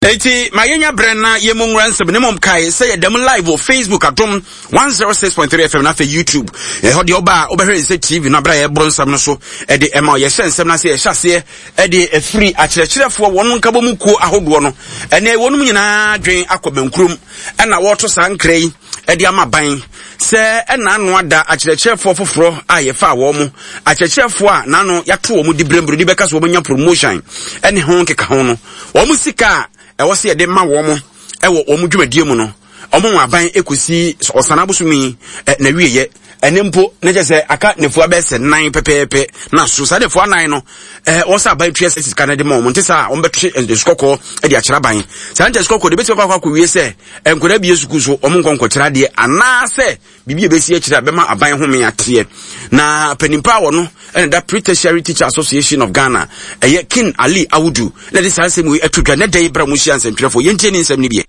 Enti ma yɛnya berɛ na yɛmmɔ nwura nsɛm ne mmom kae sɛ yɛda mu live wɔ Facebook Adom 106.3 FM na afei YouTube. Ɛhɔ deɛ ɔba a wobɛhwɛ yɛn sɛ TV no aberɛ a yɛboro nsɛm no so de ɛma yɛhyɛ nsɛm no ase yɛhyɛ aseɛ de afiri akyerɛkyerɛfoɔ wɔn nkabɔ mu kuo ahodoɔ no ɛne wɔnom nyinaa dwen akɔ bɛnkurom ɛna wɔreto saa nkra yi de ama ban sɛ ɛna ano ada akyerɛkyerɛfoɔ foforɔ a yɛfaa wɔn mo akyerɛkyerɛfoɔ a n'ano yɛato wɔn di berɛmberɛ di bɛka so wɔn anya promotion ɛne ho nkeka ho no Wɔn sika a ɛwɔ sɛ yɛde ma wɔn wɔ wɔn dwumadie mu no, wɔn wɔn aban kɔsi ɔsan abosomi na wieɛ. Ɛne mpo na kyɛ sɛ aka nefua bɛyɛ sɛ nan pɛpɛɛpɛ na so saa nefua nan no ɛɛ wɔn sɛ aban tua sɛ sika no de ma wɔn nte saa wɔn bɛtwe nsukɔkɔɔ de akyerɛ aban saa nkyɛn sukɔkɔɔ de bɛtumi akɔ akɔwie sɛ nkwadaa bie sukuu so wɔn nkɔ nkɔkyerɛ adeɛ anaasɛ Biribi a ɛbɛsi akyire a bɛma aban home ateɛ. Na panimpa a wɔno na da Pre-Tertiary Teacher Association of Ghana, ɛyɛ King Ali Awudu, na ɛde saa nsɛm wei ato dwa nɛ da yi berɛ a wɔhyia nsɛntwerɛfoɔ. Yɛntie ne nsɛm no bi.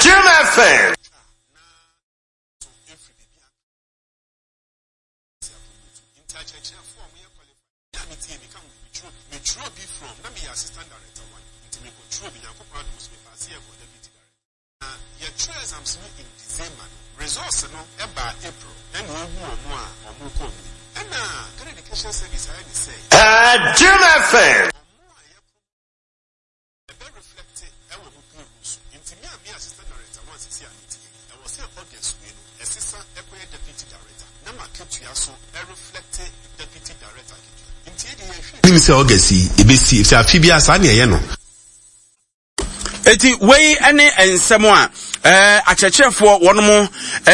Jim FM. Me a metie meka ho bi metwerɛ bi metwerɛ bi from na meyɛ assistant director one nti mekɔ twerɛ bi Nyankopɔn adom so me paase yɛ kɔ deputy director na yɛtwerɛ exams no in December no results no ɛbaa April ɛna ehu ɔmo a ɔmo kɔ ɔmo anim ɛna Ghana Education Service ayɛ ne sɛ Jim FM. ɔmo a yɛ Ɛbɛ reflecte ɛwɔ mo payroll so. Nti me a meyɛ assistant director one sisi a mete ha yi, ɛwɔ sɛ August wei no, ɛsesa ɛkɔyɛ deputy director na m'akatua so ɛreflecte deputy director akatua. Nti yɛdeɛ yɛhwɛ. Nim sɛ August yi ɛbɛsi efisɛ afe biara saa na yɛyɛ no. Eti wei ne nsɛm a eh, akyerɛkyerɛfoɔ wɔn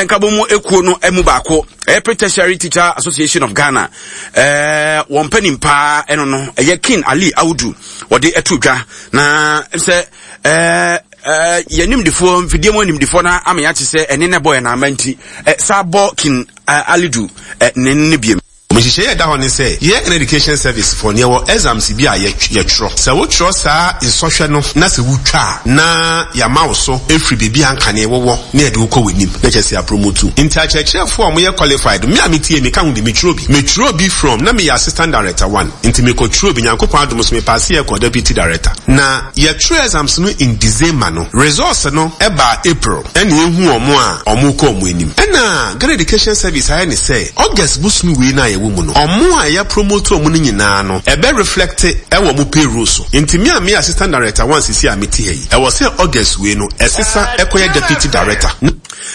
nkabɔ mu ekuo no mu baako ɛyɛ Pre-Tertiary Teacher Association of Ghana eh, wɔn panin paa ɛno no ɛyɛ King Ali Audu wɔde ɛto dwa na sɛ eh, eh, yɛn nimdefoɔ mfidie mu animdefoɔ no ama yɛate sɛ ɛne na ɛbɔ yɛn ama nti eh, saa bɔ King eh, Alidu eh, ne ne biem. Nhyehyɛe a ɛda hɔ ne sɛ, yɛn Ghana Education Service foɔ no, yɛwɔ exams bi a yɛtwerɛ. Sɛ wotwerɛ saa nsɔhwɛ no na sɛ wotwa a, na yɛama wo so firi baabi a ankane wowɔ na yɛde wo kɔ w'anim, na kyerɛ sɛ yɛapromote wo. Nti akyerɛkyerɛfoɔ a wɔyɛ qualified, me a metie, meka ho bi, metwerɛ bi. Metwerɛ bi from, na meyɛ Assistant Director one, nti mekɔtwerɛ bi, Nyankopɔn adom so mepaase yɛ kɔɔ Deputy Director. Na yɛtwerɛ exams no in December no, results no baa April. Ɛna ehu wɔn a wɔrekɔ wɔn anim. Ɛna Ghana Education Service ayɛ ne sɛ August bosome wei no a yɛwɔ mu no, wɔn a yɛ promote wɔn no nyinaa no, ɛbɛ reflect wɔ wɔn payroll so. Nti me a meyɛ Assistant Director one seesei a mete ha yi, ɛwɔ sɛ August wei no, ɛsesa ɛkɔyɛ Deputy Director.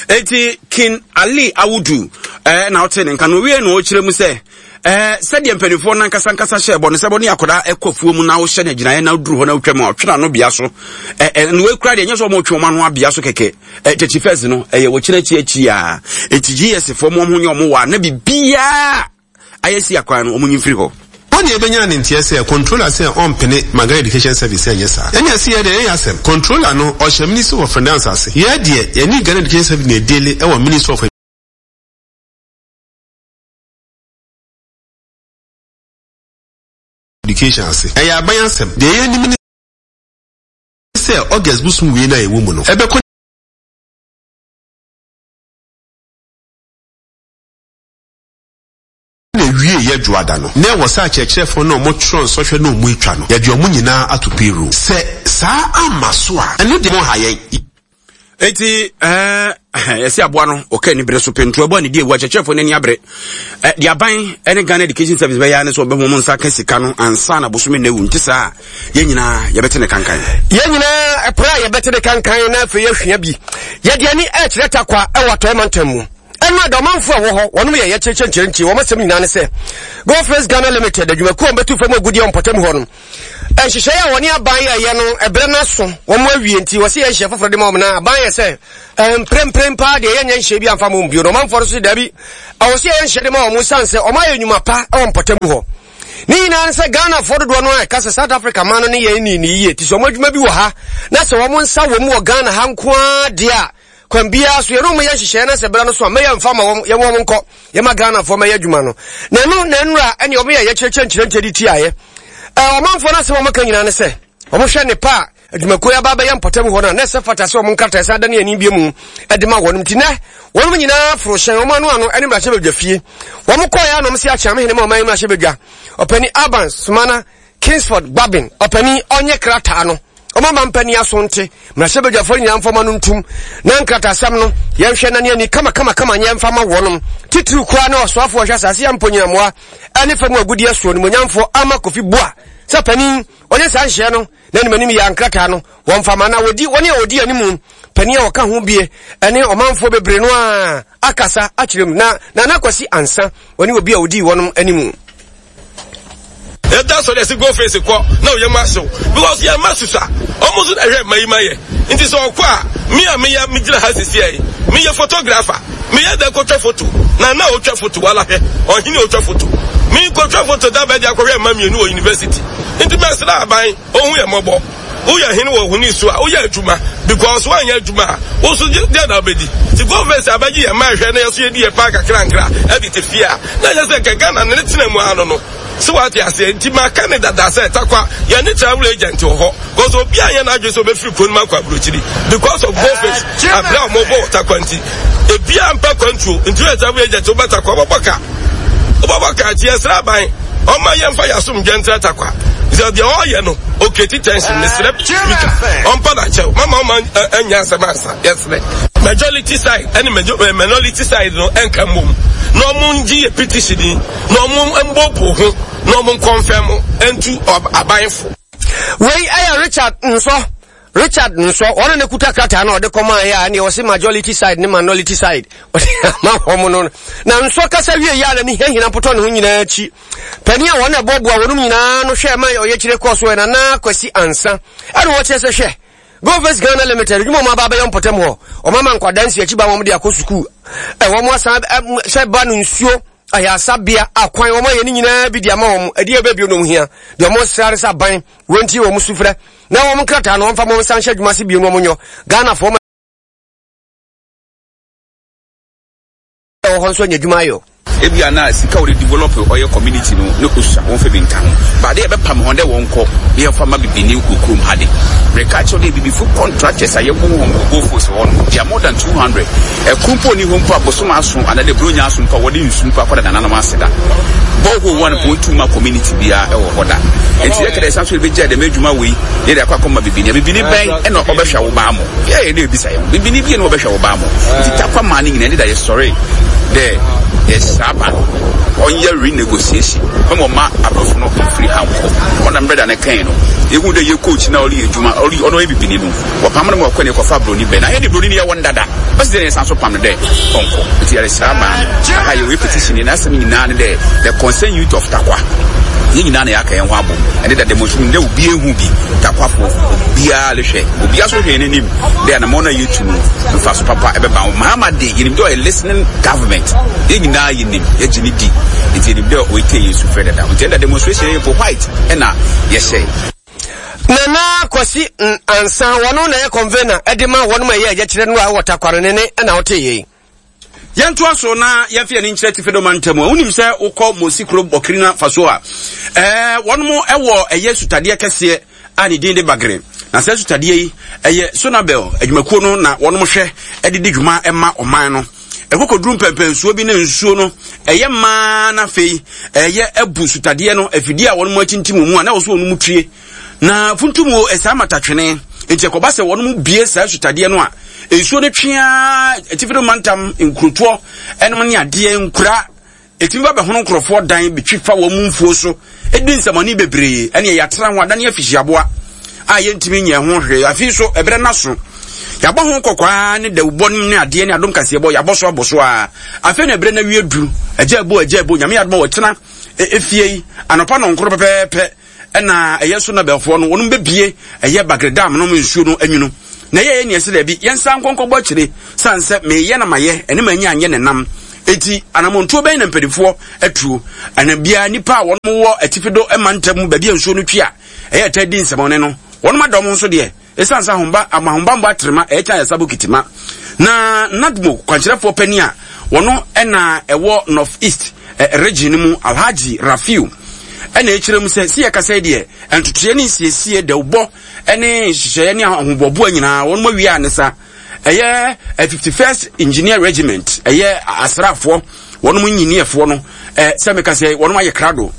Enti King Ali Awudu eh, na ɔte ne nka no owie na ɔkyerɛ mu sɛ eh, sɛdeɛ mpanimfoɔ no ankasa ankasa hyɛ bɔ no sɛ bɔ ne akwadaa ɛkɔ afuo mu na wohyɛ no agyinaeɛ na woduru hɔ na wotwa mu a ɔtwe n'ano bea so eh, eh, na wei kura deɛ ɛnyɛ sɛ wɔtwe wɔn ano abea so kɛkɛ eh, tɛkyi fɛs no ɛyɛ wɔkyerɛ akyi akyi a eti gs foɔ mo ho nyɛ wɔn wɔ a na biribiara ayɛ si akwan no wɔn nyi mfiri hɔ. Hɔ na yɛbɛnya ne nteɛ sɛ controller sɛ ɔmpene ma Ghana Education Service sɛ ɛnyɛ saa. Ɛne ɛse yɛ deɛ ɛnyɛ asɛm. Controller no ɔhyɛ Ministry of Finance ase. Yɛ deɛ yɛne Ghana Education Service na ɛdeale ɛwɔ Ministry of Education ase. Ɛyɛ aban asɛm. Deɛ yɛnim ne sɛ August bosom wei no a yɛwɔ mu no, ɛbɛkɔ na ɛwieeɛ Dwoada no, na ɛwɔ sɛ akyerɛkyerɛfoɔ no a wɔtwerɛ nsɔhwɛ no a wɔatwa no, yɛde wɔn nyinaa ato payroll. Sɛ saa amma so a, ɛno deɛ monha yɛn. Eti ɛɛ yɛsi aboa no ɔka ani bere so pentoa ɛbɔ ne di ewu akyerɛkyerɛfoɔ n'ani abere ɛ de aban ɛne Ghana Education Service bɛyɛ ne sɛ ɔbɛho wɔn nsa ka sika no ansa na bosome na ewu nti saa yɛn nyinaa yɛbɛte ne kankan. Yɛn nyinaa ɛpere a yɛbɛte ne kankan na afei yɛahwia bi yɛde ani ɛkyerɛ takwa ɛwɔ atɔe mantam mu ɛno ada ɔmanfo a ɛwɔ hɔ wɔnom yɛ yɛkyerɛkyerɛ nkyerɛnkyerɛ wɔn asɛm nyinaa ne sɛ Godfrey's Ghana Limited adwumakuo a wɔbɛtu fam agudeɛ wɔ mpɔtam hɔ no Nhyehyɛe a wɔne aban yɛeɛ no, ɛberɛ no aso, wɔn awie nti wɔse yɛ nhyehyɛe foforɔ de ma wɔn na aban yɛ sɛ mprempren paa deɛ yɛnyɛ nhyehyɛe bi amfa ma wɔn bio na ɔmanfoɔ no so daabi ɛwɔ sɛ yɛyɛ nhyehyɛe de ma wɔn sane sɛ wɔn ayɛ nnwuma pa wɔ mpɔtam hɔ. Ne nyinaa ne sɛ Ghanafoɔ dodoɔ no a ɛka sɛ South Africa man no ne yɛn ni ne yie ti sɛ wɔn adwuma bi wɔ ha na sɛ wɔn nsa wɔ mu wɔ Ghana ha nko ara deɛ a Kwan biara so yɛne wɔn yɛ nhyehyɛeɛ na sɛ berɛ no so a mɛyɛ mfa ma wɔn yɛn wɔn nkɔ yɛma Ghanafoɔ mɛyɛ adwuma no na ɛno na nnura ɛne wɔn yɛ yɛkyerɛkyerɛ nkyerɛnkyerɛ de tiaeɛ. Ɔmanfoɔ no asɛm a wɔka nyinaa ne sɛ wɔhwɛ ne pa a. adwumakuo yi aba abɛyɛ mpɔtam hɔ no a na ɛsɛ fata sɛ wɔn nkrataa san da ne ani bie mu de ma wɔn nti nɛ wɔn nyinaa foro hyɛn wɔn ano ano ne mmarahyɛbadwa fie wɔn kɔɛ a na wɔn si akyea hene ma ɔman mmarahyɛbadwa ɔpani Alban Sumana Kingsford Gbabin ɔpani ɔnyɛ krataa no wɔn ama mpanin aso nte mmarahyɛbadwafoɔ nyinaa mfɔma no ntum na nkratasɛm no yɛnhwɛ na ne ani kama kama kama nyɛ mfa ma wɔnom titiriw koraa ne ɔsoafoɔ ɔhwɛ asase yɛ mponyinamoa ɛne fam agudeɛ soɔ nimonyamfoɔ ama Kofi Boa sɛ panin ɔnyɛ saa nhyɛ no na anim anim yɛ nkrataa no wɔmfa ma na wɔdi wɔne a wɔdi anim panin a wɔka ho bie ɛne ɔmanfoɔ bebree no a akasa akyerɛ mu na Nana Kwasi Ansa wɔne obi a wɔdii wɔnom anim. Yɛda sɔre yɛsi go face kɔ na oyɛ mu ahyew because yɛn mma susa ɔmo nso na ɛhwɛ mma yi ma yɛ nti sɛ ɔkɔ a me a meyɛ megyina ha sisi yɛ meyɛ photographer meyɛ dɛ kɔtwa photo na na otwa photo wala hwɛ ɔhene otwa photo me kɔtwa photo da bɛde akɔhwɛ mma mmienu wɔ university nti mɛsrɛ aban ohu yɛ mmɔbɔ woyɛ hene wɔ honi so a woyɛ adwuma because woanyɛ adwuma a wo so deɛ na wobɛdi nti government abɛgye yɛn ma ɛhwɛ na yɛso yɛdi yɛ paa kakrankra ɛde te fie a na ɛnyɛ sɛ nka Ghana ne ne tena mu ano no sɛ wate aseɛ nti maka ne dada sɛ takwa yɛne travel agent wɔ hɔ because obi anyɛ n'adwene sɛ obɛfiri kuro no mu akɔ aburokyiri because of government abrɛ a wɔbɔ wɔ takwa nti ebia mpa kwantuo nti woyɛ travel agent wobɛtakwa wobɛbɔ ka wobɛbɔ ka nti yɛsrɛ aban ɔma yɛmfa yɛasomdwɛ ntra takwa sɛ deɛ ɔyɛ no ɔkreti tension mesrɛ speaker ɔmpa na kyɛw mama ɔma anya asɛm ansa yɛsrɛ majority side ɛne minority side no ɛnka mmom na ɔmo ngye yɛ petition yi na ɔmo mbɔbo ho na ɔmo nkɔnfɛn mo ɛntu abanfo. Wei ɛyɛ Richard Nsɔ Richard Nsɔ ɔno na kuta krataa na ɔde kɔmaa yɛ a ɛne ɔse majority side ne minority side ɔde ama wɔn no na Nsɔ kasa wie yɛ a n'ani hiahina mpotɔ ne ho nyinaa akyi panin a wɔn na ɛboaboa wɔn nyinaa no hwɛ ma ɔyɛkyerɛ kɔɔ so Nana Kwasi Ansa ɛna wɔkyerɛ sɛ hwɛ Go First Ghana Limited adwuma wɔn aba abɛyɛ mpɔtam hɔ wɔn ama nkwadaa nsi akyi ba wɔn de akɔ sukuu ɛwɔ wɔn asan sɛ ba no nsuo ayasabea akwan wɔn ayɛ ne nyinaa bi de ama wɔn ɛdeɛ ɛbɛ bio na wɔn hia deɛ wɔn srɛ sɛ aban wɔn ti wɔn sufrɛ na wɔn nkrataa no wɔmfa wɔn nsa nhyɛ adwuma ase bio na wɔn nyɔ Ghanafoɔ ma ɛwɔ hɔ nso anya adwuma ayɔ. Ebia na sika wɔde develop ɔyɛ community no ne osua wɔmfa bi nka ho. But ade a yɛbɛpam hɔn dɛ wɔnkɔ na yɛmfa mma bibini wɔ kurom ha de, mereka akyerɛ wo dɛ ebibifo contractors a yɛbohu hɔn wɔ Gold Coast hɔ no, they are more than 200. Kor mpo nnyi hɔ mpo a bosoom ason anaadɛ Buronya ason mpo a wɔde nsu mpo akɔda nananom ase da. Borehole one mpo wonntum mma community biara wɔ hɔ da. Ntsi yɛka dɛ yɛsan so yebegyaa dɛm edwuma wei na yɛdze akɔ akɔma bibini a, bibini bɛn na ɔbɛhwɛ wo ba mo? Yɛyɛ dɛ ebisa hɛnho, bibini bia na ɔbɛhwɛ wo ba mo? Ntsi Tarkwa maa ne nyina ndɛ da yɛsɔree dɛ yɛhyɛ aba no ɔnyɛ renegotiation mma ɔmma aborɔfo no mfir ha nkɔ. Ɔnam mbrɛ da no kãe no, yehun dɛ yɛ coach no a ɔreyɛ edwuma, ɔno ɔyɛ bibini no, Wɔpam no ma ɔkɔ ne kɔfa broni bɛ na hɛn de broni no yɛwɔ no dada ɔsi dɛn na yɛsan so pam no dɛ ɔnkɔ ntsi yɛreserɛ aban no aha yɛwɔ petition yi n'asɛm nyinaa ne dɛ the concerned youth of Tarkwa yɛn nyinaa na yɛaka yɛn ho abom ɛne da demonstration dɛ obi ehu bi Tarkwafo obiara rehwɛ obiara so hwɛ yɛn anim dɛ anamɔn no a yɛtu no mfaso papa ɛbɛba ho Mahama de yɛnim dɛ ɔyɛ listening government yɛn nyinaa yɛnim yɛgye ne di nti yɛnim dɛ ɔretie yɛn sufrɛ dada nti ɛnda demonstration yɛ po white ɛna yɛhyɛ. Nana Kwasi Ansa, wɔno na ɛyɛ convener de ma wɔnom a ɛyɛ ɛyɛkyerɛ no a ɛwɔ Takware ne ne ɛna wote yei. Yɛntoa so na yɛmfa yɛn ani nkyerɛ Atifi Do mantam a wonim sɛ wokɔ Mosi kuro Burkina Faso a ɛɛ wɔnom ɛwɔ ɛyɛ sutadeɛ kɛseɛ a ne din de Bagre na saa sutadeɛ yi ɛyɛ Sonabel adwumakuo no na wɔnom hwɛ ɛde di dwuma ɛma ɔman no. Ɛkɔkɔduru mpɛmpɛnsuo bi na nsuo no ɛyɛ mmaa na afei ɛyɛ abu sutadeɛ no afidie a wɔn akyinkyim mu a na wɔso wɔn mu tue na funtum wɔ ɛsaa matatwene nti ɛkɔba sɛ wɔn mu bie saa sutadeɛ no a nsuo no twea atifi do mantam nkurotoɔ ɛnom ne adeɛ nkura Ɛtumi ba bɛhono nkurɔfoɔ dan, bɛtwi fa wɔn mfuo so, di nsɛmɔne bebree, ɛneɛ yɛatra ho adane afihyiaboa a yɛntumi nyɛ ho hwee. Afei nso, ɛberɛ no aso. Yɛabɔ ho kɔkɔ ara ne dawubɔ no ne adeɛ ne adom kaseɛbɔ, yɛabɔ so abɔ so ara. Afei na ɛberɛ no awie duru. Agya ɛbo, agya ɛbo, Nyame adom a wɔtena efie yi, anɔpa nɔnkoro pɛpɛɛpɛ, ɛna ɛyɛ so na bɛfoɔ no wɔnom bɛbie ɛyɛ bagre dam nom nsuo no anwunu na ɛyɛ yɛ neɛ sɛ daabi yɛnsa nkɔnkɔbɔ akyire sane sɛ meyɛ na mayɛ ɛne manya anyɛ ne nam eti anamontuo bɛn na mpanimfoɔ atuo ɛna biara nipa a wɔn wɔ atifi do mantam mu baabi a nsuo no twi a ɛyɛ ɛtɛ di nsɛmɔne no wɔn ada wɔn nso deɛ Esiane sɛ ahomba ama ahobammɔ atrema ɛkyɛn ayaresa bokiti ma. Na NADMO kwankyerɛfoɔ panin a wɔno na ɛwɔ North East region no mu Alhaji Rafiu. ɛna ɛkyerɛ mu sɛ si yɛkasa yi deɛ ntotoeɛ ne nsiesie dawubɔ ne nhyehyɛeɛ ne ahoboaboa nyinaa wɔn awie a ne sa ɛyɛ 51st Engineer Regiment ɛyɛ asraafoɔ wɔn engineerfoɔ no sɛ meka sɛ wɔn ayɛ krado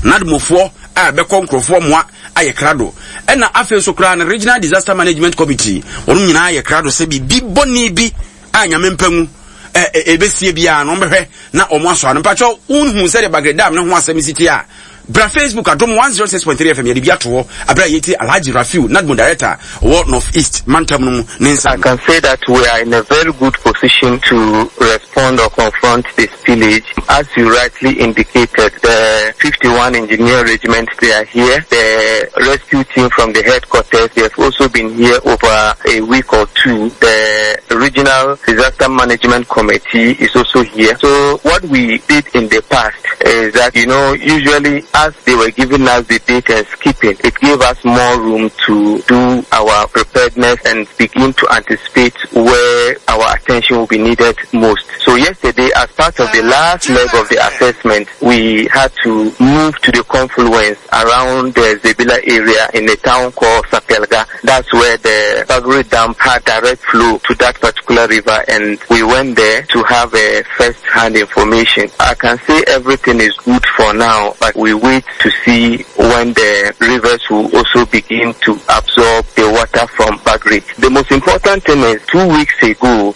nadmofoɔ a bɛkɔ nkurɔfoɔ mmoa ayɛ krado ɛna afei nso koraa no Regional Disaster Management Committee wɔn nyinaa ayɛ krado sɛ biribi bɔne bi a nyame mpa ngu ɛbɛsie biara no wɔbɛhwɛ na wɔn asɔ ano mpakyɛw wonhu sɛdeɛ Bagre Dam ne ho asɛm si te a bra Facebook adom 106.3 FM yɛde bi ato hɔ abere a yɛtie Alhaji Rafiu NADMO director wɔ North East mantam no mu ne nsa I can say that we are in a very good position to respond or confront the spillage. As you rightly indicated, the 51 Engineer Regiment, they are here. The rescue team from the headquarters, they have also been here over a week or two. The Regional Disaster Management Committee is also here. So what we did in the past is that, you know, usually as they were giving us the date and skipping, it gave us more room to do our preparedness and begin to anticipate where our attention will be needed most. So yesterday, as part of the last leg of the assessment, we had to move to the confluence around the Zebilla area in a town called Sapelga. That's where the Bagre Dam had direct flow to that particular river, and we went there to have a first-hand information. I can say everything is good for now, but we wait to see when the rivers will also begin to absorb the water from Bagre. The most important thing is 2 weeks ago,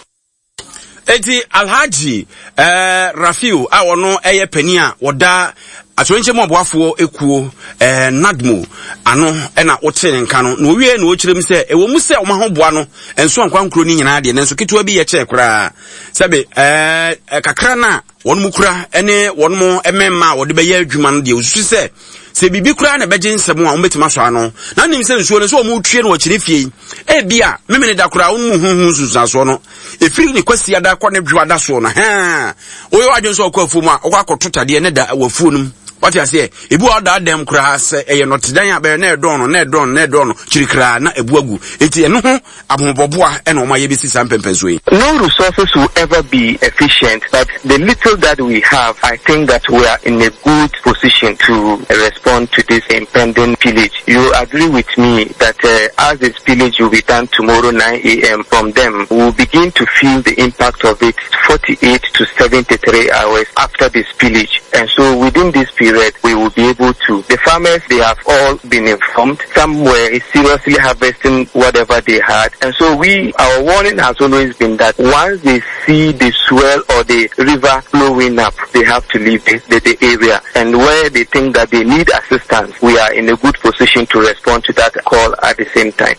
Eti Alhaji eh, Rafiu a ɔno ɛyɛ panin a wɔda atorenkyɛ mu aboafoɔ ekuo eh, NADMO ano ɛna wote ne nka no na owie na ɔkyerɛ mu sɛ ɛwɔ mu sɛ wɔn ahoboa no nso ankwa nkuro no nyinaa deɛ nanso ketewa bi yɛ kyɛɛ koraa sɛbe eh, kakra no a wɔn mu kura ne wɔn mu mmarima a wɔde bɛyɛ adwuma no deɛ osusu sɛ sɛ biribi koraa na ɛbɛgye nsɛm a wɔbɛtumi asɔ ano na nim sɛ nsuo no sɛ wɔn retue no wɔ kyerɛ fie yi ebi a memene da koraa wɔn mu huhu nsunsuansoɔ no efiri ne kwasi ada kɔ ne dwoa da soɔ no hɛn woyɛ wadwene sɛ ɔkɔ afuo mu a ɔkɔ akɔto tadeɛ ne da wɔ afuo no mu wate aseɛ ebi wɔ ɔda dɛm koraa sɛ ɛyɛ nɔtedan a bɛyɛ na ɛdɔn no na ɛdɔn no na ɛdɔn no kyirikiraa na ebu agu eti ɛno ho ahoboaboa na wɔn ayɛ besi saa mpɛmpɛnsoɔ yi. No resources will ever be efficient but the little that we have I think that we are in a good position to respond to this impending pillage. You agree with me that as the spillage will be done tomorrow 9am from them we will begin to feel the impact of it 48 to 73 hours after the spillage and so within this period we will be able to the farmers they have all been informed some were seriously harvesting whatever they had and so we our warning has always been that once they see the swell or the river flowing up they have to leave the, the, the area and where they think that they need assistance we are in a good position to respond to that call at the same time.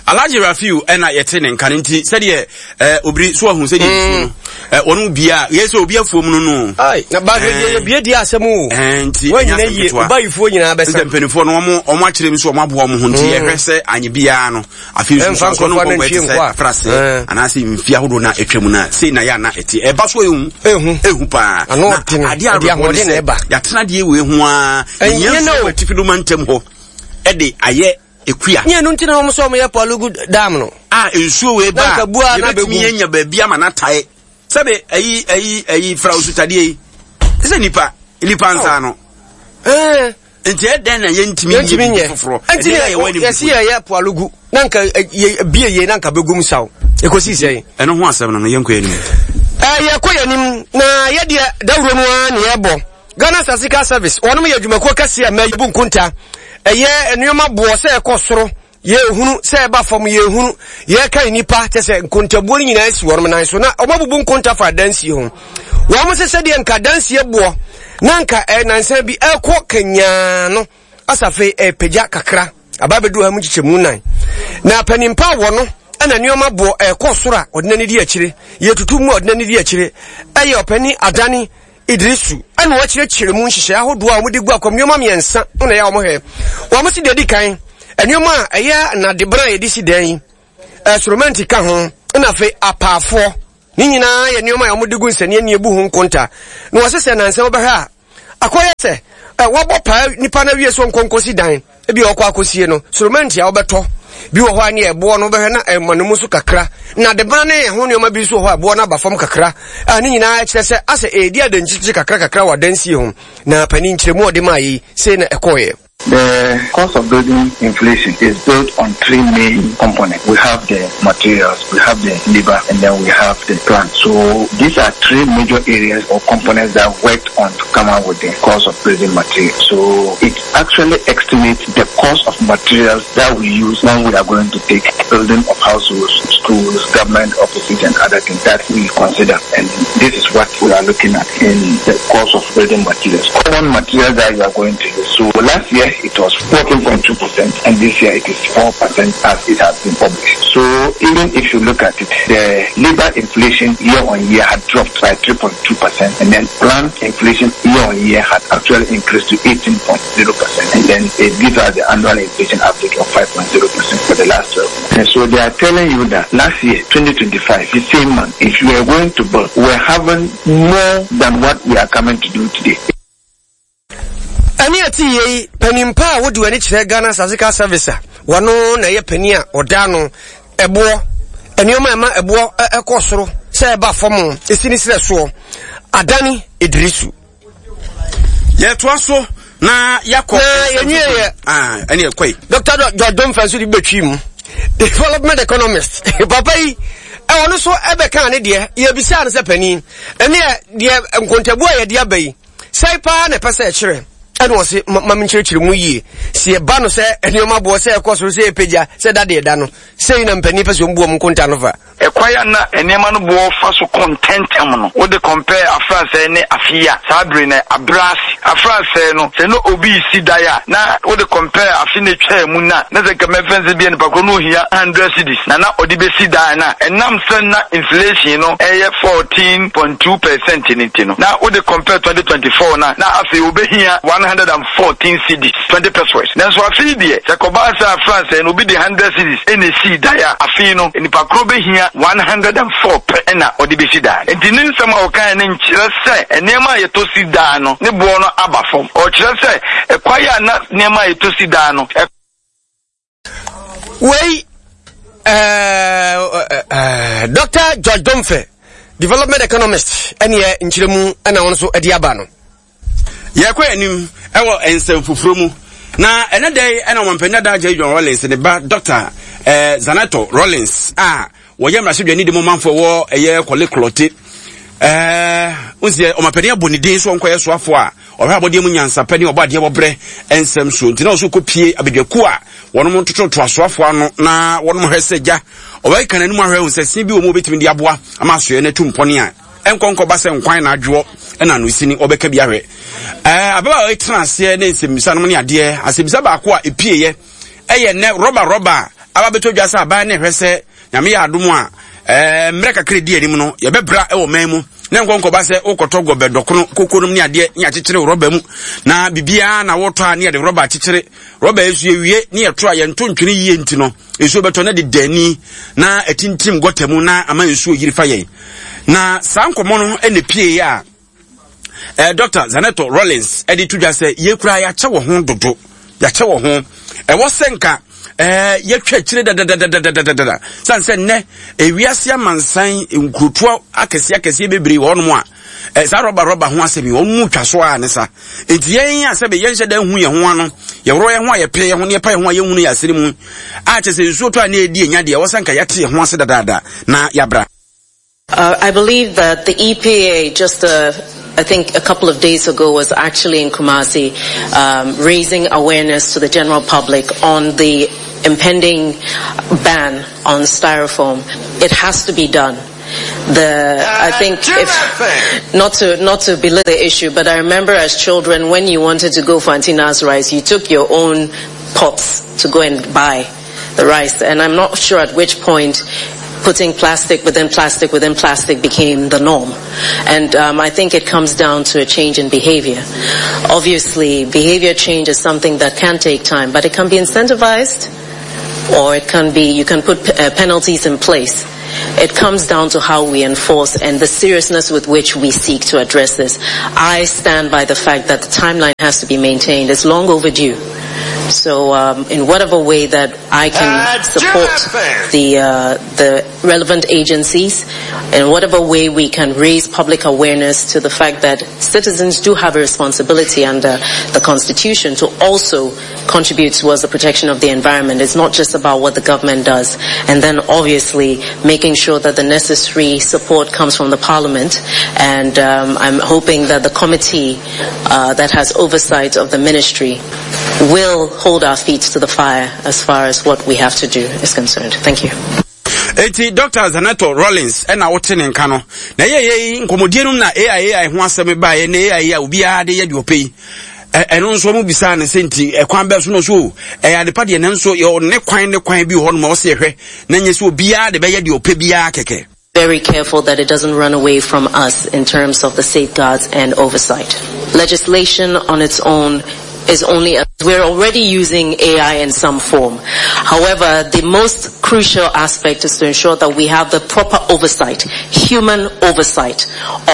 Alhaji Rafiu ɛna yɛte ne nka no nti sɛdeɛ ɛɛ obiri so ahu sɛdeɛ nsuo no ɛɛ wɔn mu bia yɛ sɛ obi afuom no no. Ayi na baasi deɛ yɛ bie di asɛm o. Ɛɛ nti wɔn nyina yie ɔbayifoɔ nyinaa bɛsa. Sɛ mpanimfoɔ no wɔn wɔn akyerɛ mu so wɔn aboa wɔn ho nti yɛhwɛ sɛ anyi biara no afei nso nso nso no nkɔnkɔ ɛte sɛ afrase anaasɛ mfi ahodoɔ na atwa mu na sei na yɛ ana ɛte ɛba so ehu ehu ehu paa na adeɛ awerɛhoɔ ne sɛ yɛatena adeɛ wei ho ara yɛnyɛ nso wɔ atifi do mantam hɔ ɛde ayɛ Ekua. Nyɛ ɛno nti na wɔn sɛ wɔn yɛ Pwalugu dam no. A nsuo wei ba a yɛbɛtumi anya baabi ama n'atae sɛbe ayi ayi ayi fra osutadeɛ yi sɛ nipa nipa nsa no. Eh. Nti ɛdɛn na yɛntumi nyɛ biribi foforɔ. Nti yɛsi yɛyɛ Pwalugu na nka bie yie na nka bɛgum saw ɛkɔsi sɛn. Ɛno ho asɛm no no yɛnkɔ yɛn anim. Yɛkɔ yɛn anim na yɛdeɛ dawuro no ara na yɛbɔ. Ghana Statistical Service, wɔnom yɛ adwumakuo kɛseɛ a mɛ yɛbu nkonta. Ɛyɛ nneɛma boɔ sɛ ɛkɔ soro, yɛhunu, sɛ ɛba fam, yɛhunu. Yɛka nnipa, kyɛ sɛ nkontabuo no nyinaa si wɔnom nan so. Na wɔn abubu nkonta fa adansie ho. Wɔn sɛ sɛdeɛ nka adansie boɔ na nka nansa bi ɛkɔ kanyaa no, asafe ɛpagya kakra. Aba abɛduru ha mu nkyekyɛmu nan. Na panimpa wɔ no ɛna nneɛma boɔ ɛkɔ soro a ɔde n'ani di akyire. Yɛtutu mu a ɔde n'ani di akyire. Ɛyɛ ɔpani adane Idrisu na wɔakyerɛkyerɛ mu nhyehyɛe ahodoɔ a wɔde gu akwam nneɛma mmiɛnsa na ɛyɛ a wɔhwɛ. Wɔn si deɛ edi kan, nneɛma a ɛyɛ nnadebena a yɛde si dan yi, soromɛnti ka ho, na afei apaafoɔ. Ne nyinaa yɛ nneɛma a wɔde gu nsania ni ebu ho nkonta. Na wɔse sɛ nansa wobɛhwɛ a, akɔyɛ sɛ wɔabɔ paa nipa no awie so nkɔnkɔsi dan. Ebi a ɔkɔ akɔsie no, soromɛnti a wobɛtɔ. Bi wɔ hɔ a ne ɛboɔ no wobɛhwɛ na ɛma no mu so kakra. Na adebena ne ɛho nneɛma bi nso wɔ hɔ a ɛboɔ no aba fam kakra. A ne nyinaa kyerɛ sɛ asɛ ɛredi adankyikyi kakra kakra wɔ adansie ho. Na panin nkyerɛmu a ɔde maa yi, sei na ɛkɔeɛ. The cost of building inflation is built on three main components. We have the materials, we have the labor, and then we have the plant. So these are three major areas or components that worked on to come out with the cost of building materials. So it actually estimates the cost of materials that we use when we are going to take building of households, schools, government offices, and other things that we consider. And this is what we are looking at in the cost of building materials. Common materials that you are going to use. So last year it was 14.2% and this year it is 4% as it has been published. So even if you look at it, the labor inflation year on year had dropped by 3.2% and then plant inflation year on year had actually increased to 18.0% and then it gives us the annual inflation average of 5.0% for the last 12 months. And so they are telling you that last year, 2025, the same month, if you are going to build, we're having more than what we are coming to do today. Ɛne ɛte yie yi, panin pa a wodi w'ani kyerɛ Ghana Statistical Service a wɔno na ɛyɛ panin a ɔda ano ɛboɔ nneɛma a ɛma ɛboɔ ɛkɔ soro sɛ ɛba fam ɛsi ne serɛ soɔ Adani Idrisu. Yɛtoa so na yɛakɔ. Na yɛnwie yɛ. Ah, ɛne ɛkɔ yi. Dr. George Domfa nso de bɛtwi mu. Development economist. Papa yi, ɛwɔ no so ɛbɛka ne deɛ, yɛbisaa no sɛ panin, ɛne deɛ nkontabuo a yɛde aba yi, Sɛe paa na ɛpɛ sɛ ɛkyerɛ ɛna ɔse ma menkyerɛkyerɛ mu yie sɛ yɛba no sɛ nneɛma boɔ sɛ ɛkɔ soro sɛ ɛpagya sɛ da deɛ da no sei na mpanin pɛ sɛ ɔmbu ɔmo nkonta no fa. Ɛkwan a na nneɛma no boɔ fa so kɔ ntɛmntɛm no, wode compare afransɛe ne afe yi a, saa bere no abrɛ ase. Afransɛe no, sɛ na obi resi dan a, na wode compare afe no a etwaa mu no a, na sɛ nka mɛmfa nsɛ bi a nipa korɔ no ohia hundred cedis na na ɔde besi dan no a, ɛnam sɛ na inflation no yɛ 14.2 percent no nti no, na wode compare 2024 no a, na afei obehia 114 cedis, 20 pesewas. Nanso afe yi deɛ, sɛ ɛkɔbaa sɛ afransɛe no obi de hundred cedis na esii dan a, afe yi no nipa korɔ behia 104 pɛ na ɔde besi dan. Enti ne nsɛm a ɔkae no nkyerɛ sɛ nneɛma a yɛtɔ si daa no ne boɔ no aba fam. Ɔkyerɛ sɛ ɛkwan a na nneɛma a yɛtɔ si daa no. Wei ɛɛ ɛɛ Dr. George Domfe, development economist, ɛneɛ nkyerɛmu ɛna wɔn nso ɛde aba no. Yɛkɔ anim ɛwɔ nsɛm foforɔ mu na ɛnɛ dɛ yi ɛna ɔmampanin dada Jerry John Rawlings ne ba Dr. Eh, Zanetor Rawlings a wɔyɛ mmarahyɛdwani de mu manfoɔ wɔ ɛyɛ Kɔle Klɔte ɛɛ nsiɛ ɔmampanin abɔ ne din so ɔnkɔyɛ soafoɔ a ɔhwɛ abɔdeɛ mu nyansapɛ ne ɔbɔ adeɛ wɔbrɛ nsɛm so nti na ɔso kɔ pie abadwakuo a wɔnom tototo asoafoɔ ano na wɔnom hwɛ sɛ gya ɔbɛka n'anim ahwɛ hu sɛ sin bi wɔ mu wɔbɛtumi de aboa ama asoɛ no atu mpɔne a ɛnkɔ nkɔba sɛ nkwan na adwoɔ ɛna ano sini ɔbɛka bi ahwɛ ɛɛ ababaawa yi tena aseɛ ne nsɛmmisa nom ne adeɛ asɛmmisa baako a epieɛ ɛyɛ nnɛ rɔba rɔba a aba bɛtɔ dwa sɛ aban ne hwɛ sɛ nyame yɛ adom a ɛɛ mmerɛ kakra di anim no yɛbɛbra ɛwɔ man mu na nkɔ nkɔba sɛ wokɔtɔ gɔbɛ dɔkono koko nom ne adeɛ ne akyekyere rɔba mu na biribiara na wotɔ a ne yɛde rɔba akyekyere rɔba nso yɛwie ne yɛto a yɛnto ntwene yie nti no nsuo bɛtɔ na deda ani na atintim gɔta mu na ama nsuo yiri fa yɛn na saa nkɔmmɔ no ɛna pie a eh, Dr. Zanetor Rawlings ɛde to dwa sɛ yɛkura yɛakyɛ wɔ ho dodo yɛakyɛ wɔ ho ɛwɔ sɛ nka eh, yɛtwa akyire dadadadadadada sane sɛ nnɛ ewiase amansan nkurotoɔ akɛseɛ akɛseɛ bebree wɔ hɔnom a eh, saa rɔba rɔba ho asɛm yi wɔn mu twa so a ne sa nti yɛn a sɛbe yɛnhyɛ da hu yɛn ho ano yɛworɔ yɛn ho a yɛpɛ yɛn ho ne yɛpa yɛn ho a yɛhunu yɛ asene mu a kyɛ sɛ nsuo tɔ a ne ɛdi anya deɛ ɛwɔ sɛ nka yɛate yɛn ho ase dadaada na yɛabra Uh, I believe that the EPA just uh, I think a couple of days ago was actually in Kumasi um, raising awareness to the general public on the impending ban on styrofoam. It has to be done. The I think if not to not to belittle the issue, but I remember as children when you wanted to go for Antina's rice, you took your own pots to go and buy the rice, and I'm not sure at which point putting plastic within plastic within plastic became the norm. And um, I think it comes down to a change in behavior. Obviously, behavior change is something that can take time, but it can be incentivized or it can be, you can put uh, penalties in place. It comes down to how we enforce and the seriousness with which we seek to address this. I stand by the fact that the timeline has to be maintained. It's long overdue. So um, in whatever way that I can support the, uh, the relevant agencies, in whatever way we can raise public awareness to the fact that citizens do have a responsibility under the Constitution to also contribute towards the protection of the environment. It's not just about what the government does. And then obviously making sure that the necessary support comes from the parliament. And um, I'm hoping that the committee uh, that has oversight of the ministry will hold our feet to the fire as far as what we have to do is concerned. Thank you. Eti Dr. Zanetor Rawlings ɛna wote ne nka no. Na ɛyɛ yɛ yi nkɔmmɔdie nom na AI AI ho asɛm baeɛ na AI a obiara de yɛ deɛ ɔpɛ yi. Ɛno nso wɔn bisaa ne sɛ nti ɛkwan bɛɛ so no so ɛyɛ adepa deɛ nanso yɛ ne kwan ne kwan bi wɔ hɔ nom a ɔsɛ yɛhwɛ na nyɛ sɛ obiara de bɛyɛ deɛ ɔpɛ biara kɛkɛ. Very careful that it doesn't run away from us in terms of the safeguards and oversight. Legislation on its own is only, a, we're already using AI in some form. However, the most crucial aspect is to ensure that we have the proper oversight, human oversight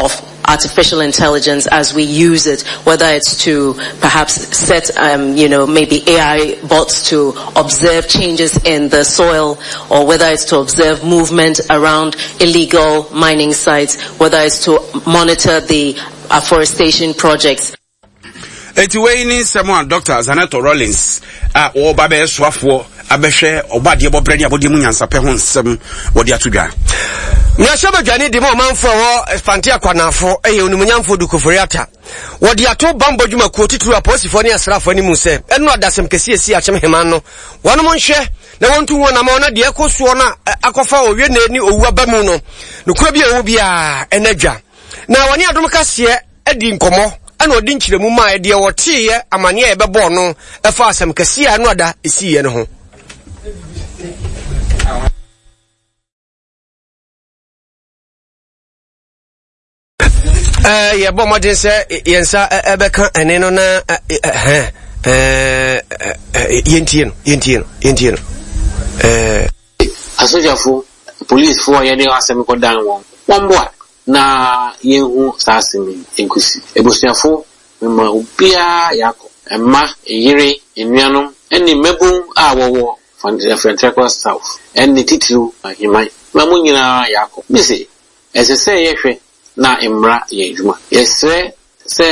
of artificial intelligence as we use it, whether it's to perhaps set, um, you know, maybe AI bots to observe changes in the soil, or whether it's to observe movement around illegal mining sites, whether it's to monitor the afforestation projects. Eti wei ne nsɛm a Dr. Zanetor Rawlings a ɔreba bɛyɛ soafoɔ abɛhwɛ ɔbɔadeɛ bɔberɛ ne abɔdeɛ mu nyansapɛ ho nsɛm wɔde ato dwa. Mmarahyɛbadwani de ma ɔmanfo a ɛwɔ Fante Akwanafo yɛ Onimuonyamfo Duke Ofori-Atta. Wɔde ato bammɔ dwumakuo titiriw apolisifoɔ ne asraafoɔ anim sɛ ɛno adasɛm kɛseɛ esi Akyem Heman no wɔnom nhwɛ na wɔntu ho anamɔn na deɛ ɛkɔ soɔ no a akɔfa owiene ne owu aba mu no nokorɛ bi a ɛwɔ biara ɛna dwa. Na wɔne adom kaseɛ adi nkɔmmɔ ɛna ɔde nkyerɛmu maa deɛ wɔteeɛ amaneɛ a yɛbɛbɔɔ no ɛfa asɛm kɛseɛ a ɛno ada ɛsiiɛ no ho. Eh, yɛbɔ mmɔden sɛ yɛn nsa ɛbɛka ɛne no na yɛntie no yɛntie no yɛntie no Asogyafo, polisifo a yɛde asɛm kɔdan wɔn, wɔmmoa na yenhu saa asɛm yi nkosi. Abusuafo, mema obiara yɛakɔ. Mma, yere, anuanom ne mmabun a wɔwɔ Fanteakwa South ne titiriw Aheman, mema mo nyinaa yɛakɔ. Mise, ɛsɛ sɛ yɛhwɛ na mmara yɛ adwuma. Yɛsrɛ sɛ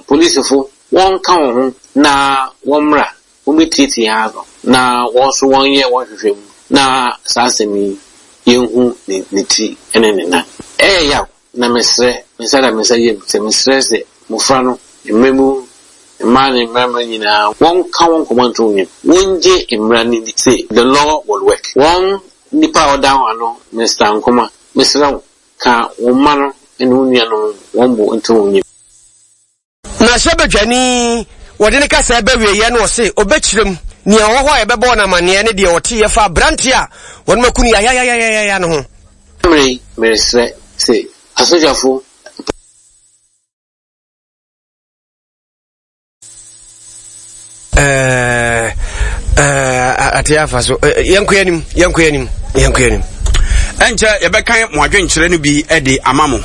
polisifo wɔnka wɔn ho na wɔmmra Wobetie ano na wɔn nso wɔnyɛ wɔn nhwehwɛmu na saa asɛm yi yɛnhu ne ne ti ne ne nan. Ɛyɛ yaw na mesrɛ, me nsa da me nsa yam sɛ mesrɛ sɛ mmofra no, mmabun, mmaa ne mmarima nyinaa wɔnka wɔn koma nto wɔn yam, wongye mmara no nni sɛ the law will work. Wɔn nipa a ɔda wɔn ano, Mister Nkrumah, mesrɛ wo, ka wo mma no ne wo nuanom wɔn bo nto wɔn yam. Na hyɛ badwani wɔde ne kasa ɛbɛ wieɛ no ɔse ɔbɛkyerɛ mu nea ɔwɔ hɔ a yɛbɛbɔɔ no amaneɛ ne deɛ ɔteeɛ fa aberanteɛ a wɔnom aku no yayayayayaya no ho. Mmerɛ yi meresrɛ se asogyafo. Eh, eh, ate afa so eh, yɛnkɔ anim yɛnkɔ anim yɛnkɔ anim ɛnkyɛ yɛbɛkan mo adwenkyerɛ no bi de ama mo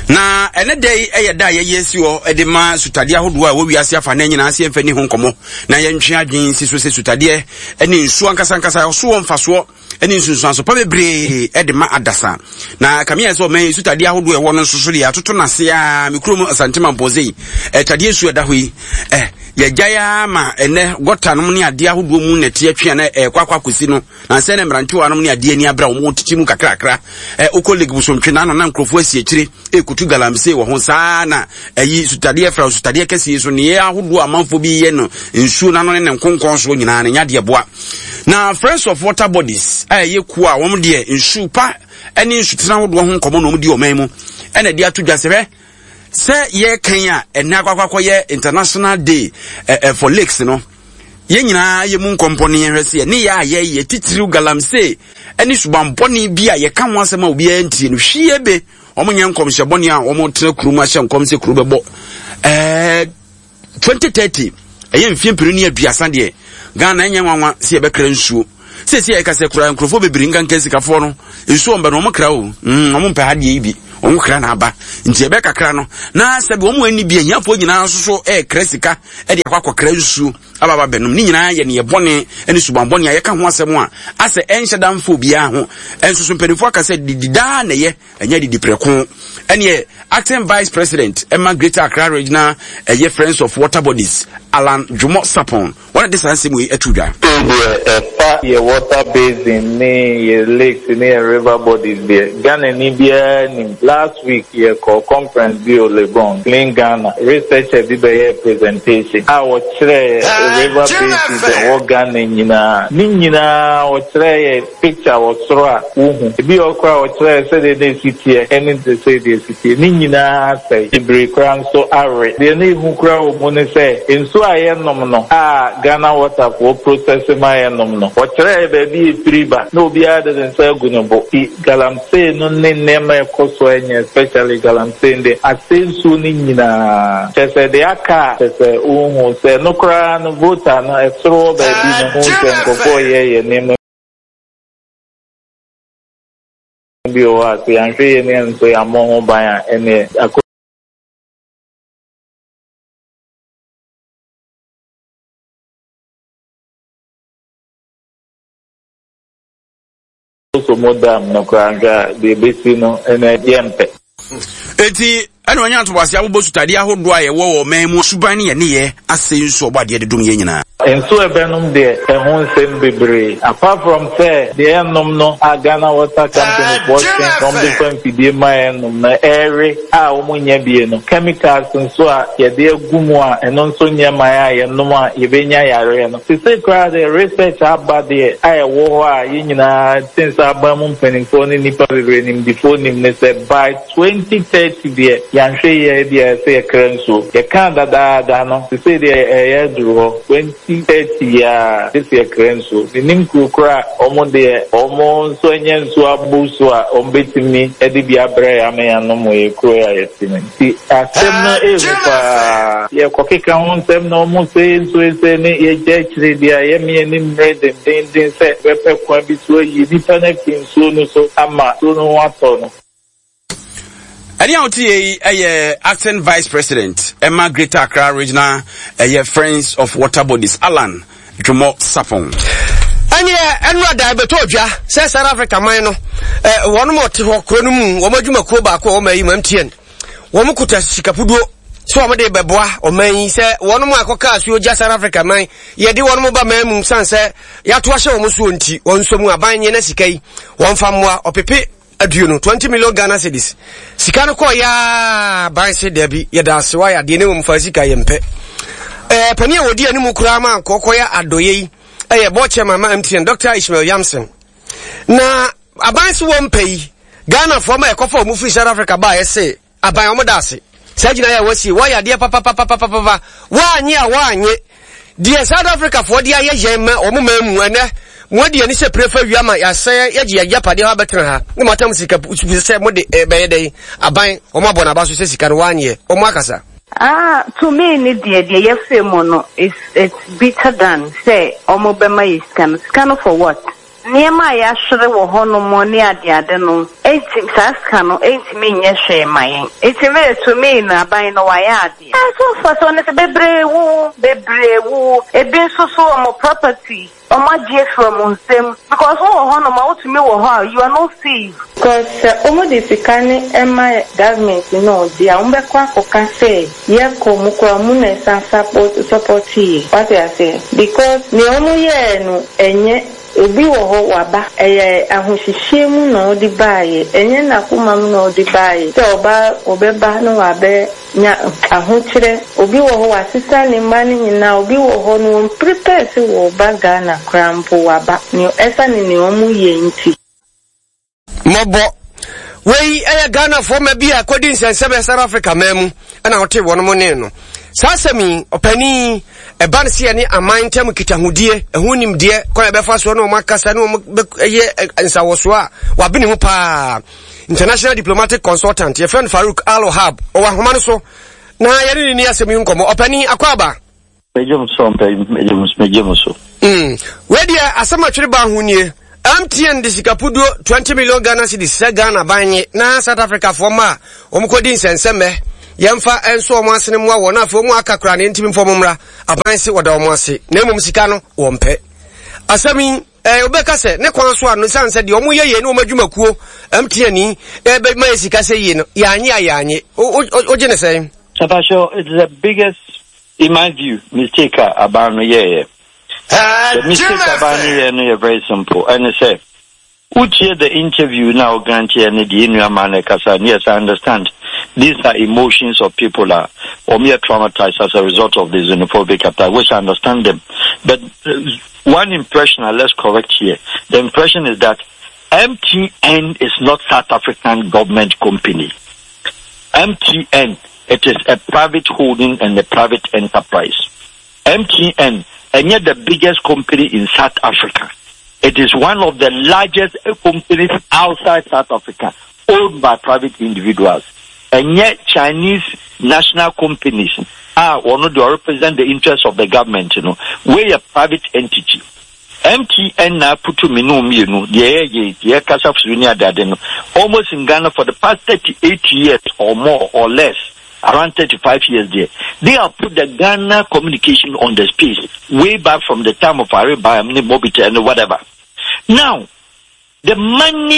na ɛne da yi yɛ da a yɛyɛ si hɔ de ma sutadeɛ ahodoɔ a ɛwɔ wiase afa na nyinaa sɛ yɛmfa ni ho nkɔmmɔ na yɛntwe adwene si so sɛ sutadeɛ ne nsuo ankasankasa ɔso wɔ mfasoɔ ne nsunsuanso pa bebree de ma adasa na kame yɛ sɛ ɔman yi sutadeɛ ahodoɔ ɛwɔ no nso so deɛ atoto n'ase a me kurom Asante Mampɔnse yi ɛtadeɛ nsuo ɛda hɔ yi ɛ yɛgyae ara ma ɛnɛ gɔta nom ne adeɛ ahodoɔ mu na ɛte atwe a na ɛkɔ akɔ akɔsi no na nsɛ na mmerantewa nom ne adeɛ ani abere a wɔn tete mu kakrakra ɛ wokɔ lake bosontwe n'ano na nkurɔfoɔ asi akyire ɛkutu galamsey wɔ ho saa na ɛyi sutadeɛ fra sutadeɛ kɛseɛ so neɛ ahodoɔ amanfoɔ bi yɛ no nsuo n'ano ne ne nkonkɔn soɔ nyinaa no nya deɛ boa Na Friends of Water Bodies a ɛyɛ kuo a wɔn deɛ nsu pa ne nsutena ahodoɔ ho nkɔmmɔ na wɔn di ɔman mu ɛna ɛde ato dwa sɛ hwɛ sɛ yɛrekan a ɛnɛ akɔakɔakɔ yɛ International Day eh, eh, for Lakes no yɛn nyinaa yɛ mu nkɔmpɔ ne yɛhwɛ sɛ ne yɛ a yɛyɛ titiriw galamsey ne subanbɔne bi a yɛka ho asɛm a obiara ntie no hwie be wɔn nyɛ nkɔmhyɛ bɔne a wɔn tena kurom ahyɛ nkɔm sɛ kuro bɛbɔ ɛɛ 2030 ɛyɛ mfeɛ mpenu ne aduasa deɛ Ghana ɛnyɛ nwanwa sɛ yɛbɛkra nsuo sɛsi a yɛka sɛ kura nkurɔfoɔ bebree nkanka sikafoɔ no nsuo ɔmbɛ no wɔn kra o mm, wɔn mpɛ ha deɛ yi bi Wɔn kra na aba. Nti ɛbɛ kakra no, na sɛbi wɔn ani bi ahiafoɔ nyinaa nso so ɛrekra sika ɛde akɔ akɔkra nsuo aba aba bɛnom. Ne nyinaa yɛ neɛ bɔne ne suban bɔne a yɛka ho asɛm a asɛ ɛnhyɛ da mfa obiara ho. Ɛnso so mpanimfoɔ aka sɛ didi daa na ɛyɛ, ɛnyɛ didi prɛko. Ɛneɛ acting vice president ɛma Greater Accra Regional ɛyɛ Friends of Water Bodies, Alan Dwomo Sapon, Wɔn na de saa nsɛm wei ato dwa. Sei deɛ ɛfa yɛ water basin ne yɛ lakes ne yɛ river bodies deɛ, Ghanani biara nim. Last week yɛkɔɔ conference bi wɔ Legon, Clean Ghana, researcher bi bɛyɛɛ presentation a ɔkyerɛɛ river basins a ɛwɔ Ghana nyinaa. Ne nyinaa ɔkyerɛɛ yɛ picture wɔ soro a wohu. Ebi wɔ hɔ koraa a ɔkyerɛɛ sɛdeɛ na ɛsi teɛ ne te sɛ deɛ ɛsi teɛ. Ne nyinaa asɛe. Bebree koraa nso awe. Deɛ na ɛhu koraa wɔ mu ne sɛ, nsuo a yɛnom no a Ghana Water foɔ process ma yɛnom no, wɔkyerɛɛ baabi a ɛfiri ba na obiara de ne nsa agu ne bo. Nti galamsey no ne nneɛma a ɛkɔ so a ɛnyɛ especially galamsey no deɛ, asɛe nsuo no nyinaa. Kyerɛ sɛ deɛ aka a kyerɛ sɛ wonhu. Sɛ ɛno koraa no Volta no ɛsoro hɔ baabi no, wohu sɛ nkurɔfoɔ reyɛyɛ nneɛma bi wɔ hɔ a sɛ yɛanhwɛ yie na yɛn nso yɛammɔ ho ban a ɛneɛ akɔ Akosombo Dam no koraa nhwɛ a deɛ ɛbɛsi no ɛnɛ yɛmpɛ. Enti ɛna ɔnya ntoboase abobɔ sutadeɛ ahodoɔ a yɛwɔ wɔ ɔman mu suban ne yɛn nneyɛɛ asɛe nsu ɔbɔ adeɛ de dom yɛn nyinaa. Nsu a ɛbɛnom deɛ ɛho nsɛm bebree apart from sɛ deɛ yɛnom no a Ghana Water Company foɔ twe na wɔde fa mfidie ma yɛnom no ɛrewe a wɔn nnya bie no, chemicals nso a yɛde agu mu a ɛno nso nyɛ ma yɛn a yɛnom a yɛbɛnya yareɛ no. Sesei koraa deɛ research aba deɛ a ɛwɔ hɔ a yɛn nyinaa te sɛ aban mu mpanimfoɔ ne nnipa bebree nimdefoɔ nim ne sɛ by 2030 deɛ yɛanhwɛ yie a ebia ɛsɛ yɛkra nsuo. Yɛkaa dadaada no sesei deɛ ɛreyɛ aduru hɔ. 2030 yi ara gye sɛ yɛkra nsuo. Mennim kuro korɔ a wɔn deɛ wɔn nso anya nsuo abu so a wɔbɛtumi de bi abrɛ yɛn ama yɛanom wɔ yɛn kuro yi a yɛte mu yi. Nti asɛm no ɛɛhu paa. Yɛkɔkeka ho nsɛm na wɔn sei nso sei ne yɛgya akyire deɛ a yɛme yɛn ani mmere dendeenden sɛ yɛbɛpɛ kwan bi so ayi nnipa no afiri nsuo no so ama nsuo no ho atɔ no. Ɛne a wote yɛ yi yɛ acting vice president ɛma Greater Accra Regional ɛyɛ Friends of Water Bodies Alan Dwomɔ Sapon. Ɛneɛ ɛno ada ɛbɛtɔ odwa sɛ South Africa man no wɔn a wɔte hɔ kuro no mu wɔn adwumakuo baako a wɔn ayi mu MTN wɔn kuta sikapuduo sɛ wɔn de bɛboa ɔman yi sɛ wɔn mu akɔka asuo gya South Africa man yɛde wɔn mu ba man mu san sɛ yɛato ahyɛ wɔn soɔ nti wɔn nso mu aban nyɛ na sika yi wɔn fa mmoa ɔpepe aduonu, 20 million Ghana cedis. Sika no kɔɔ yaa ban se dabi yɛda ase wayɛ adeɛ ne mmom fa sika yɛmpɛ. Ɛɛ panin a wɔdi anim koraa ma nkɔkɔyɛ adɔyɛ yi ɛyɛ board chairman ma MTN Dr. Ishmael Yamson. Na aban se wɔmpɛ yi Ghanafoɔ ma ɛkɔfa wɔn firi South Africa baa ɛse Aban wɔn da ase. Saa gyinaeɛ a wɔasie, wɔayɛ adeɛ papapapapapa. Wɔanye a wɔanye. Deɛ South Africa foɔ de ayɛ yɛn ma wɔn man mu ɛnɛ, mo adi ani sɛ pire fa wia ma yɛasɛe yɛgye yɛn agyapadeɛ hɔ abɛtena ha ne mo atam sika sɛ mo de ɛbɛyɛ dɛn. Aban wɔn abɔ n'aba so sɛ sika no wɔanyeɛ. Wɔn akasa. Ah to me ne deɛ deɛ yɛfɛ mu no it's it's bitter than sɛ ɔmo bɛma yɛ sika no sika no for what? Nneɛma a yɛahwere wɔ hɔnom ne adeade no nti, saa sika no ntumi nyɛ hwee mma yɛn. Nti me de, to me no, aban no wayɛ adeɛ. Ɛso mfasoɔ ne sɛ, bebree wuwu, bebree wuwu. Ebi nso so wɔn property, wɔagye afiri wɔn nsam. Because wowɔ hɔnom a, wotumi wɔ hɔ a, you are not safe. Because sɛ wɔn de sika no ma government no a ɔgye a, wɔn bɛkɔ akɔka sɛ yɛ kɔ mu koraa wɔn na ɛsan support support yɛ. Wate aseɛ? Because nea wɔn yɛɛ no ɛnyɛ. Obi wɔ hɔ waba, ɛyɛ ahohyehyeɛ mu na ɔde baeɛ, ɛnyɛ n'akoma mu na ɔde baeɛ sɛ ɔba ɔbɛba na wabɛ nya ahokyerɛ. Obi wɔ hɔ wasesa ne mma no nyinaa, obi wɔ hɔ no wɔn prepare sɛ wɔreba Ghana koraa mpo waba, nea ɛsane nea wɔn yɛ nti. Mmɔbɔ. Wei yɛ Ghanafoɔ mma bi a kɔdi nsɛnsɛm South Africa man mu ɛna wɔte wɔn mo ne no. Saa asɛm yi, ɔpanin, ɛba no sɛ yɛne aman ntam nkitahodie, ɛho nimdeɛ, kwan a yɛbɛfa soɔ ne wɔn akasa ne wɔn bɛyɛ nsawɔsoɔ a wabene mu paa. International Diplomatic Consultant, yɛfrɛ no Farouk Al Wahab, ɔwɔ ahoma no so na yɛne ne ni asɛm yi nkɔmmɔ. Ɔpanin, akɔ aba. Megye mo so mpɛ, megye mo so, megye mo so. Mm. Wei deɛ asɛm atwere baa ho nie. MTN de sika puduo 20 million Ghana cedis sɛ Ghana ban nye na South Africa foɔ mma a wɔn kɔdi nsɛnsɛmmɛ yɛmfa nso wɔn asene mmoa wɔn na afei wɔn aka koraa na yɛntumi mfa wɔn mmra aban se wɔda wɔn ase na mmom sika no wɔn pɛ asɛm yi ɛɛ wobɛka sɛ ne kwan so a no sane sɛ deɛ wɔn yɛ yie ne wɔn adwumakuo MTN yi ɛbɛma yɛ sika sɛ yie no yɛanye a yɛanye wogye ne sɛn. Apacho, it's the biggest, in my view, mistake a aban no yɛɛyɛ. The mistake aban no yɛɛ no yɛ very simple. Ɛne sɛ, wotie the interview na wo grant yɛ ne deɛ nua maa no ɛkasa no, yes, I understand. These are emotions of people a wɔn yɛ traumatized as a result of the xenophobic attack, which I understand them. But uh, one impression, uh, let's correct here. The impression is that MTN is not South African government company. MTN, it is a private holding and a private enterprise. MTN, and yet the biggest company in South Africa. It is one of the largest companies outside South Africa, owned by private individuals. And yet Chinese national companies are or not they represent the interests of the government, you know. We a private entity. MTN na aputu me ne wo mmienu, deɛ yɛyɛ yi, deɛ yɛkasa firi ne adeade no, almost in Ghana for the past 38 years or more or less, around 35 years there, they have put the Ghana communication on the space way back from the time of Ariba, Mobitel, and whatever. Now, the money